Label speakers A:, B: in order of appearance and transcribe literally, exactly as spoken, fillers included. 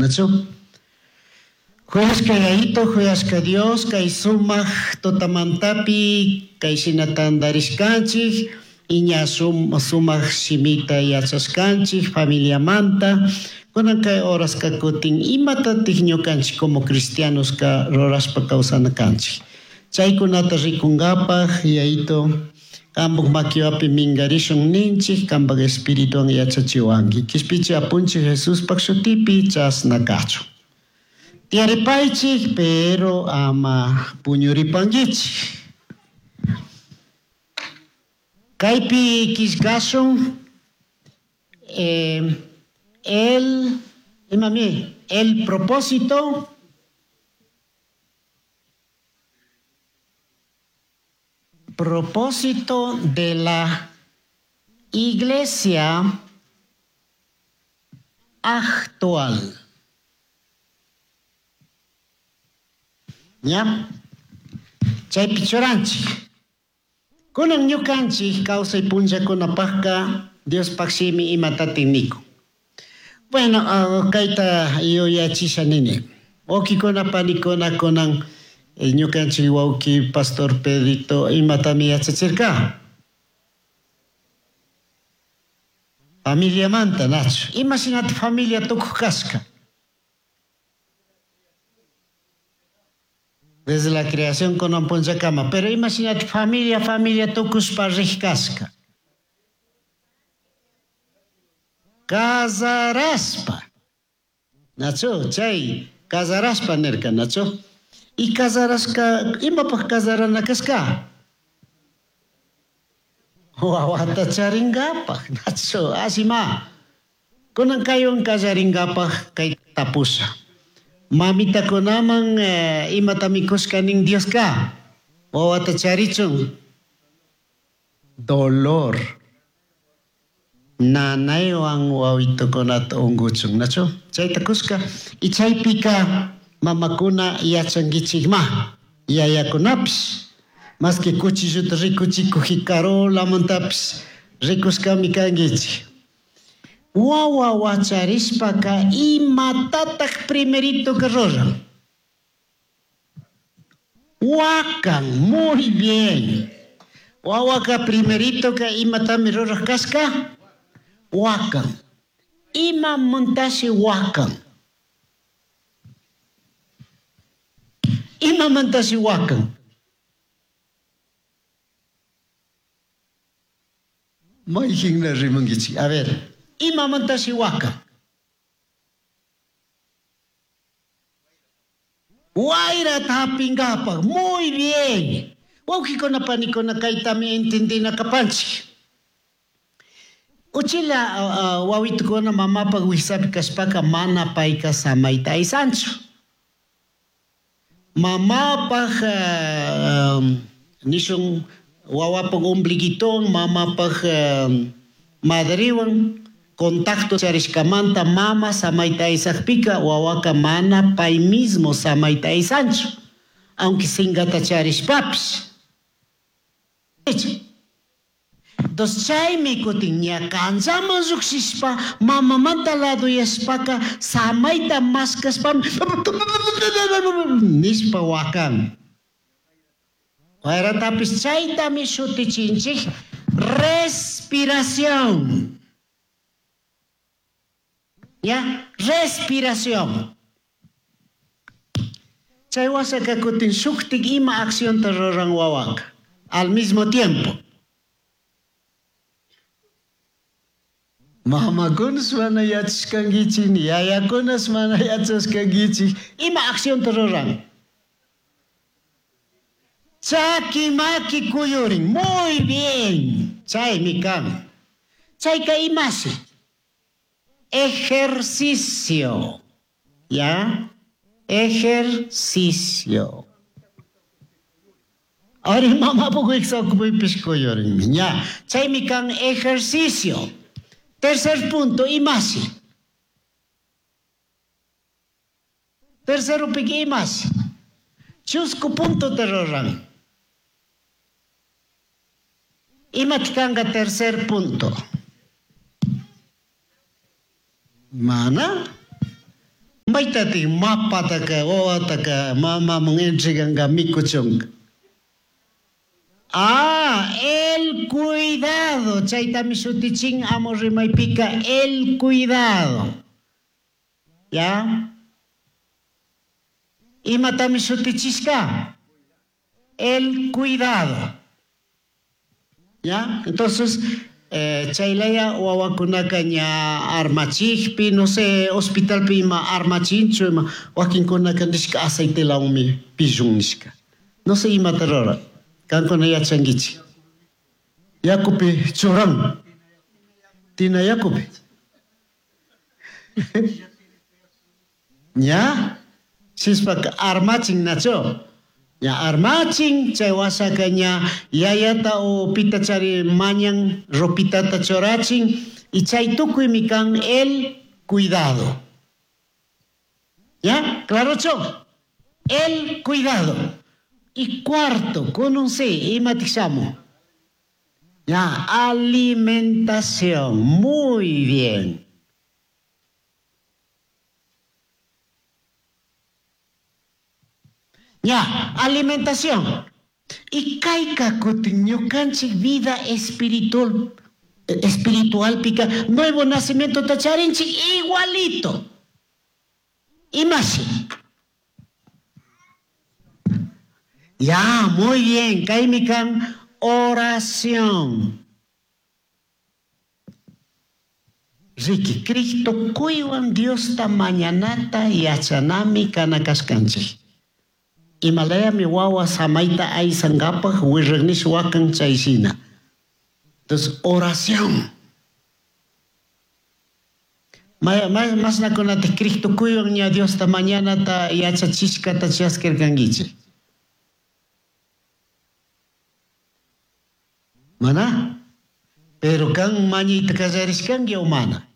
A: Nachu? Juyashka Yayito, juyashka Dios, kay sumak tutamantapi, kay shina tantarishkanchik, iña sum, sumak shimita yachashkanchik, familiamanta, kunan kay horaska kutin imatatik ñukanchik como cristianos ka rurashpa kawsana kanchik. Chaykunata rikunkapaj, Yayito, kambuk makiwapi mingarishun ninchik, kambak espirituwan yachachiwanki. Kishpichi apunchik Jesuspaj shutipi chasna kachun. Tiyaripaychik, pero ama puñuripankichik. Kaypi killkashun, eh, el, imami, el propósito propósito de la iglesia actual. ¿Ya? Chaypi churanchik. Kunan ñukanchik kawsay punllakunapaqqa Diospaq shimi imatatin nikun. Bueno, uh, kayta yuyachisha nini. Wawkikuna panikuna kunan ñukanchik wawki Pastor Pedrito imatami yachachirka. Familiamanta, nachu. Imashinata familia tukuq kashka. Desde la creación kunan punllakama, pero imashinata familia, familia tukushpa riq kashka. Casaraspa. Nachu, chay casaraspa nirka, nachu. Y casarasca, imapaq casarana kashka? Wawata charingapaq, nachu, asima. Kunan kaywan kallaringapaq kay tapusha. Mamitakunaman eh, imata mikushka nin Dioska. Wawata charichun. Dolor. Nanaywan wawitukunata unguchun, nachu? Chayta kushka. Y chaypika mamakuna yachankichikma, yayakunapish. Más que cuchilluta rikuchikuj jikarolamantapish rikushkami kankichik. Wawa wacharishpaka imatataq primerito que ruran? Wakan, muy bien. Wawaka primerito que imatami ruraj kashka? Wakan. Ima muntashi wakan. Ima muntashi wakan. Mayhinna rimankichik. A ver, ima muntashi wakan. Wayrata hapingapaq. Muy bien. Wawqikuna panikuna kaytami entendina kapanchik. Uchila uh, uh, wawitukuna mamapaq wiksapi kashpaka mana payka samayta aysanchu. Mamapaq uh, um, nishun wawapaq ombliguitowan, mamapaq uh, madriwan contacto charishkamanta mama samayta aysaqpika wawaka mana pay mismo samayta aysanchu, aunque singata charishpapish. Entonces chaymi kutin ña kanchaman lluqshishpa mamamanta laduyashpaka samayta mashkashpami nishpa wakan. Wayratapis chaytami shutichinchik respiración. ¿Ya? Respiración. Chay wasaka kutin shuktik ima accionta ruran wawaka al mismo tiempo. Mamakunas mana yachashkankichik, ni yayakunas mana yachashkankichik, ima accionta ruran? Chaki maki kuyurin. Muy bien. Chaymi kan. Chayka imashi? Ejercicio. ¿Ya? Ejercicio. Ahora mamá poco wiksaukupipis kuyurinmi. Ya. Chaymi kan ejercicio. Tercer punto, imashi. Tercero piki imashi. Chusku punto te ruran. Imataq kanqa tercer punto. Mana? Maitatik mapataka wawataka mamaman entreganka mikuchunka. Ah, el cuidado. Chaytami shutichin amo rimaypika el cuidado. ¿Ya? Imatami shutichishka? El cuidado. ¿Ya? Entonces, eh, chaylaya wawakunaka ña armachikpi, no sé, hospitalpi ima armachinchu, ima wakinkunaka nishka aceitelawanmi pillun nishka. No sé imata rura. Kankuna yachankichik. Yakupi churan. Tina yakupi. Ña? Sishpaka armachin nacho. Ña armachin, chay wasaka ña yayata o pita chari mañan ropitata chorachin y chay tukuymi kan el cuidado. ¿Ya? ¿Claro, cho? El cuidado. Y cuarto, con un C, imatixamo. Ya, alimentación. Muy bien. Ya, alimentación. Y kayka kutin ñukanchik vida espiritual, espiritual pica, nuevo nacimiento tacharinchik igualito. Imashi. Ya, muy bien. Kaymi kan oración. Riki, Cristo kuywan Diosta mañanata yachanami kanakashkanchik. Himalayami wawa samaita aysankapaj wirraqnish wakan chayshina. Entonces, oración. Masnakunata Cristo kuywan ña Diosta mañanata yachachishkata chaskirkankichik. Mana? Pero kan mañayta kallarishkanki o mana?